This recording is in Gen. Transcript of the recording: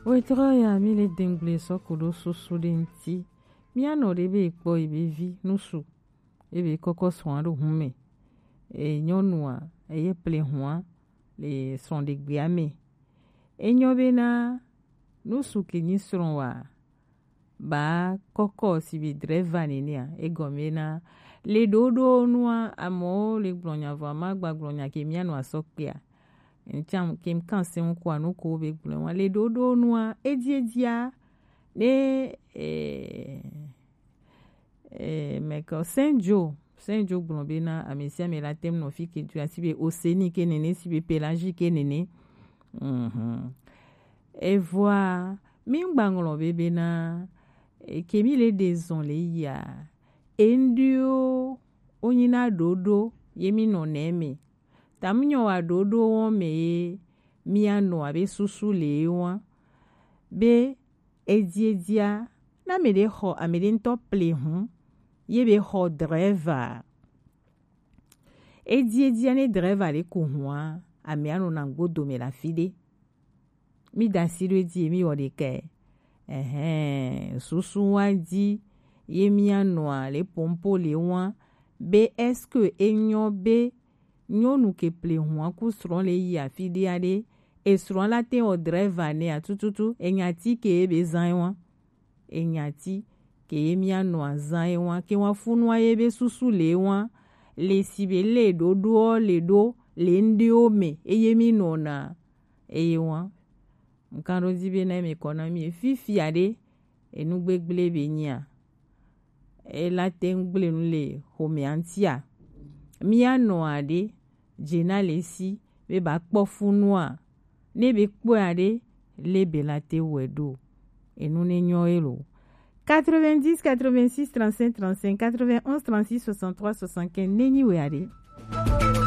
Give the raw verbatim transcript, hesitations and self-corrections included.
Wetrɔ ya mi le dengble sɔku ɖo susu ɖe ŋti. Mianɔ ɖe be kpɔ yi be vi nusu ebe kɔkɔ srɔ̃a ɖo hun me. E nyɔnua eye ple hua le srɔ̃ɖegbea me. Enyɔ bena nusu ke nyi srɔ̃ wa ba kɔkɔ si be drɛva nenea, egɔme na le ɖoɖo nua amewo le gblɔ nya vɔ ama gba gblɔ nya ke mianɔ asɔ kpea. Ŋtsam ke kan se ŋkua nuko be gblɔ wa le ɖoɖo nua ediedia ne eh, eh, mɛkɔ Saint Joe Saint Joe gblɔ bena ame sia ame la tem nɔ fi ke tu asi be oseni ke nene si be pelagie ke nene. Mhm. Evɔa mi ŋgba ŋlɔ be bena eke mi le ɖe zɔn le yia eŋɖiwo wonyina ɖoɖo ye mi nɔ nɛ me. Tamunyɔ wa ɖoɖo wɔn me ye mianɔ abe susu le ye wɔn be ediedia na ame ɖe xɔ ame ɖe ŋutɔ ple hun ye be xɔ drɛva. Ediedia ne drɛva le ku hua ame anɔ na gbodo me la fi ɖe. Mi da asi ɖo edzi mi wɔ ɖeka. Ɛhɛn, susu wa dzi ye mianɔa le pompo le wa be est-ce que enyɔ be nyɔnu ke ple hua ku srɔ̃ le yi afi ɖe aɖe esrɔ̃ la te wɔ drɛva nea tututu enyati ke ye be zã ye wa. Enyati ke ye mianɔa zã ye wa ke wa funua ye be susu le wa le si be le ɖoɖoɔ le ɖo le ŋɖewo me eye mi nɔna eye wa. Ŋkan ɖo dzi be na mi kɔ na mi fifia ɖe enu gbegble be nyia ela te ŋu gble nu le xomea ŋutia. Mianɔa ɖe dze na le si be ba kpɔ funua ne be kpɔa ɖe le be la te wɔe ɖo enu ne nyɔ ye lo. Quatre-vingt-dix, quatre-vingt-six, trente-cinq, trente-cinq, quatre-vingt-onze, trente-six, soixante-trois, soixante-quinze, nenyi wɛ aɖe.